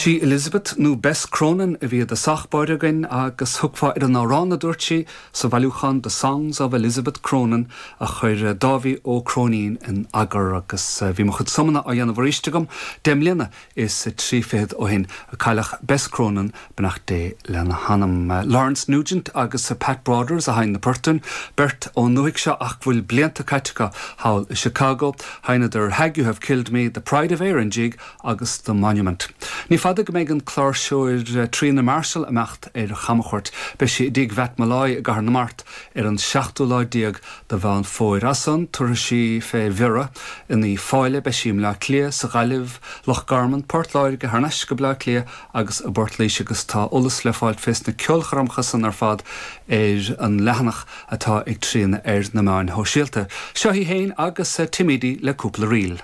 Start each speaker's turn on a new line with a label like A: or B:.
A: Sí Elizabeth nó Bess Cronin a bhí i dtosach báire againn agus thiocfá ar an amhrán a dúirt sí sa bhailiúchán The Songs of Elizabeth Cronin a chuir Dáibhí Ó Cróinín in eagar agus bhí mo chuid suimeanna á dhéanamh arís agam deich mbliana is 30 ó shin a cailleadh Bess Cronin, beannacht Dé lena hanam. Lawrence Nugent agus Pat Broders a sheinn na poirt, beirt ón ndúthaigh seo ach go bhfuil blianta caite acu thall i Chicago. Sheinneadar Hag You Have Killed Me, The Pride of Erin Jig agus The Monument. Ní fada go mbeidh an cláirseoir Tríona Marshall ag imeacht ar chamchuairt. Beidh sí i dTigh Mhatt Molloy i gCathair na Mart ar an seachtú lá déag de Mheán Fómhair. As san, tabharfaidh sí fé Bhiorra in Uíbh Fhailí, beidh sí i mBleá Cliath, sa Ghaillimh, Loch Garman, Port Láirge, thar n-ais go Bleá Cliath agus i bPort Laoise agus tá eolas le fáilt fés na ceolchoirmeacha san ar fad ar an leathanach atá ag Tríona ar na meáin shóisialta. Seo í féin agus Tim Edey le cúpla ríl.